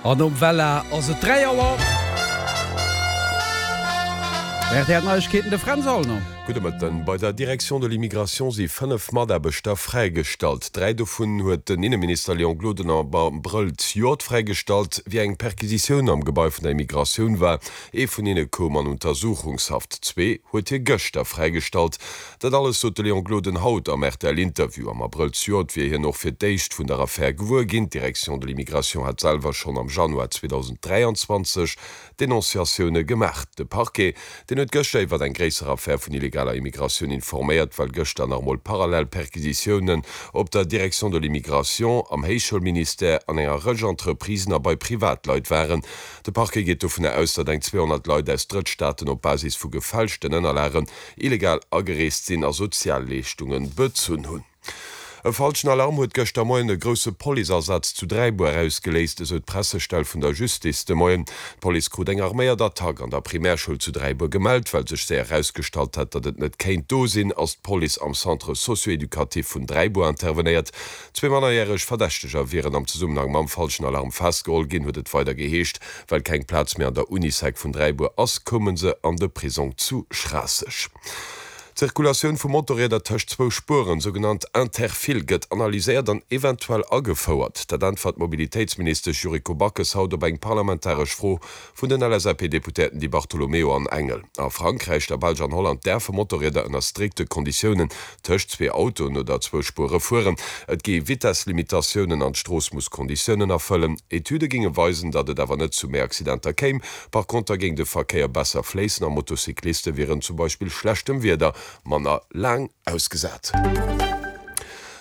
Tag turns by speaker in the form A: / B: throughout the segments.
A: An nom Wella ass et 3 Auer. Rtl Neiegkeeten, de Fränz Aulner.
B: Gudde Mëtten. Bei der Direction de l'immigration si 5 Mataarbechter fräigestallt. 3 dovun huet den Inneminister Léon Gloden am Abrëll zejoert fräigestallt, wéi eng Perquisitioun am Gebai vun der Immigratioun war. Ee vun hinne koum an Untersuchungshaft, zwee huet hie gëschter fräigestallt. Dat alles sot de Léon Gloden haut am RTL-Interview. Am Abrëll zejoert wier hien och fir d'éischt vun der Affär gewuer ginn. D'Direction de l'immigration hat selwer schonn am Januar 2023 Denonciatioune gemaach. De Parquet, deen huet gëschter iwwer eng gréisser Affär vun illegaler Immigratioun informéiert, well gëschter nach emol parallel Perquisitiounen op der Direction de l'immigration, am Héichschoulministère, an enger Rëtsch Entreprisen a bei Privatleit waren. De Parquet geet dovunner aus, datt eng 200 Leit aus Drëttstaaten op Basis vu gefälschten Ënnerlagen illegal agereest sinn a Sozialleeschtunge bezunn hunn. E falschen Alarm huet gëschter Moien e grousse Policeasaz zu Dräibuer ausgeléist, esou d'Pressestell vun der Justice de Moien. D'Police krut eng arméiert Attack an der Primärschoul zu Dräibuer gemellt. Well sech séier erausgestallt hat, datt et net kéint do sinn, ass d'Police am Centre socio-éducatif vun Dräibuer intervenéiert. Zwee mannerjäreg Verdächteger wieren am Zesummenhang mam falschen Alarm festgeholl ginn, huet et weider geheescht. Well keng Plaz méi an der Unisec vun Dräibuer ass, koume se an de Prisong zu Schraasseg. D'Zirkulatioun vu Motorrieder tëscht zwou Spueren, sougenannt Interfile, gëtt analyséiert an eventuell agefouert. Dat äntwert d'Mobilitéitsministesch Yuriko Backes haut op eng parlamentaresch Fro vun den LSAP-Deputéierten Di Bartolomeo an Engel. A Frankräich, der Belsch an Holland däerfe Motorrieder ënner strikte Konditiounen tëscht zwee Autoen oder zwou Spuere fueren. Et gi Vitesslimitatiounen an d'Strooss muss Konditiounen erfëllen. Etüde géinge weisen, datt et awer net zu méi Accidenter kéim. Par konter géing de Verkéier besser fléissen a Motocycliste wieren zum Beispill schlechtem Wieder manner laang ausgesat.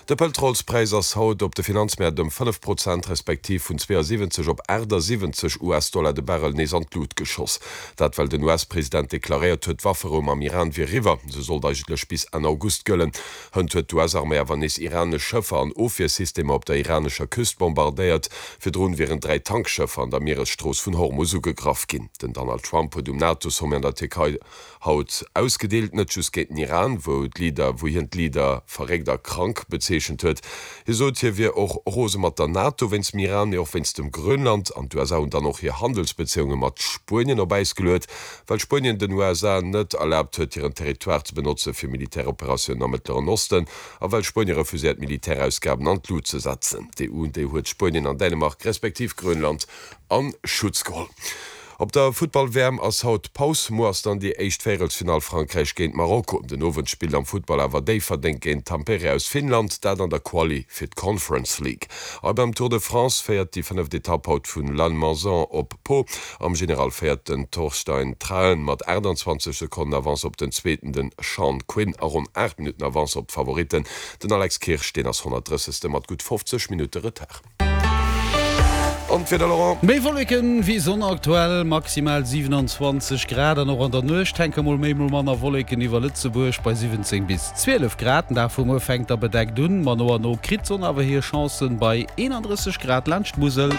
B: De Pëtrolspräis ass haut op de Finanzmäert ëm 5 Prozent, respektiv vun 72 op 78 US-Dollar de Barrel nees an d'Lut geschoss. Dat well den US-President deklaréiert huet, d'Wafferou mam Iran wier eriwwer. Se sollt eigentlech bis Enn August gëllen. Hënt huet d'US-Arméi awer nees iranesch Schëffer an Ofwiersystemer op der iranescher Küst bombardéiert. Virdrun wieren 3 Tankschëffer an der Mieresstrooss vun Hormus ugegraff ginn. Den Donald Trump huet um NATO-Sommet an der Tierkei haut ausgedeelt, net just géint den Iran, wou d'Leader, wou hien d'Leader verréckt a krank bezeechent huet. Hie sot, hie wier och rose mat der NATO wéinst dem Iran, mee och wéinst dem Grönland. An d'USA hunn dann och hir Handelsbezéiunge mat Spuenien op Äis geluet, well Spuenien den USA net erlaabt huet, hiren Territoire ze benotze fir Militäroperatiounen am Mëttleren Osten a well Spuenie refuséiert, Militärausgaben an d'Lut ze setzen. D'EU, déi huet Spuenien an Dänemark respektiv Grönland a Schutz geholl. Op der Futtball-WM ass haut Paus. Muer ass dann déi éischt Véierelsfinall Frankräich géint Marokko. Den Owend spillt am Futtball awer Déifferdeng géint Tampere aus Finnland, dat an der Quali fir d'Conference League. A beim Tour de France féiert déi fënneft Etapp haut vun Lannemezan op Pau. Am General féiert den Torstein Traen mat 28 Sekonnen Avance op den Zweeten, den Sean Quinn, a ronn 8 Minutten Avance op d'Favoritten, den Alex Kirsch, deen ass 130. Mat gutt 50 Minutte Retard. An d'Wieder, Laurent?
A: Méi Wolleken wéi Sonn aktuell, maximal 27 Grad an och an der Nuecht hänke mol méi mol manner Wolleken iwwer Lëtzebuerg bei 17 bis 12 Grad. Den Dag vu muer fänkt da bedeckt un, ma no a no kritt d'Sonn awer hir Chancen bei 31 Grad laanscht d'Musel.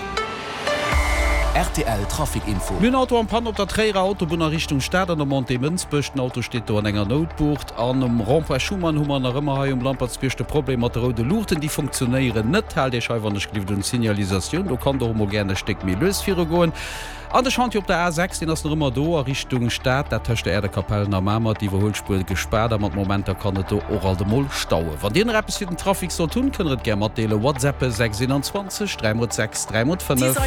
C: Rtl Trafic Info.
A: Mir hunn Auto en Panne op der Tréierer Autobunn a Richtung Stad an der Montée Mënsbech. Den Auto steet do an enger Noutbucht. An um Rond-point Schuman hu mer nach ëmmer hei um Lampertsbierg de Problem mat de roude Luuchten. Déi funktionéieren net. Haalt Iech hei wann ech gelift un d'Signalisatioun. Do kann der och mol gären e Stéck méi lues virugoen. An de Chantier op der A6, deen ass nach ëmmer do a Richtung Stad, dat tëscht der Äerdekapellen a Mamer, d'Iwwerhuelspuer gespaart a mat Momenter kann et do och alt emol stauen. Wann Dir nach eppes fir den Trafic sollt hunn, kënnt der et gär matdeelen. WhatsAppe 6 21 3 x 6 3 x 5.